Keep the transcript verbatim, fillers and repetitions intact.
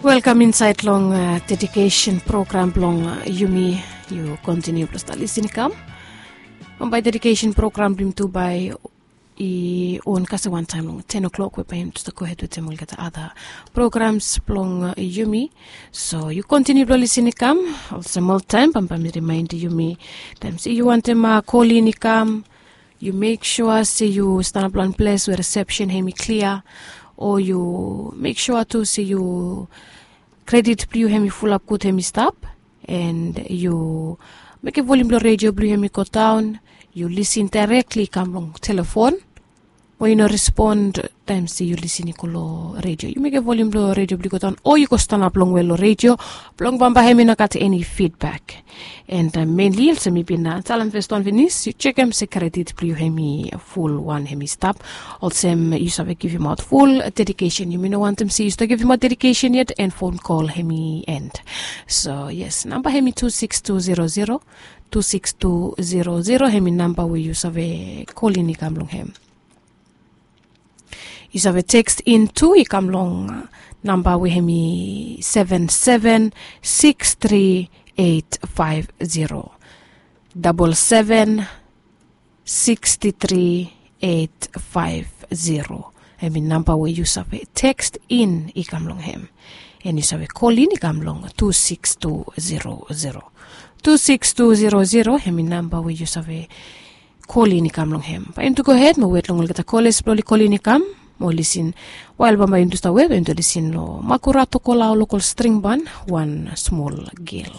Welkam insaed long dedikesen program blong yumi. Yu kontiniu blong stap lisin i kam. Bambae dedikesen program blong yumi tu bae i on kasem wantaem long ten o'clock we bae yumi tu stap gohed wetem olgeta ada programs blong yumi. So yu kontiniu blong lisin i kam. Olsem oltaem bambae mi rimaenem yumi, taem se yu wantem kolin i kam, yu mek sua se yu stanap long wan ples we risepsen hem i klia, o yu mek sua tu se yu kredit blong yu hem i fulap gud hem i stap, and yu mekem volium blong redio blong yu hem i godaon. Yu lisin daerekli i kam long telefon, o yu no respon taem se yu lisin i go long redio, yu mekem volium blong redio blong yu godaon o yu go stanap longwe long redio, blong bambae hem i no gat eni fidbak. And menli olsem mi bin talem fes wan finis, yu jekem se kredit blong yu hem i ful wan hem i stap. Olsem yu save givimaot ful dedikesen, yumi no wantem se yu stap givimaot dedikesen yet and fon kol hem i end. So yes, namba hem i tu siks tu zero zero, tu siks tu zero zero hem i namba we yu save kolin i kam long hem. Yu save tekst in tu i kam long namba we hem i seven seven six three eight five zero, double seven six three eight five zero. Hem i namba we yu save tekst in i kam long hem. And yu save kolin i kam long tu siks tu zero zero, tu siks tu zero zero hem i namba we yu save kolin i kam long hem. Bae yumi tu gohed mo wet long olgeta koles blong oli kolin i kam mo lisin. Wael bambae yumi tu stap wet bae yumi tu lisin long makura tokola o lokol stringban, wan smol gel.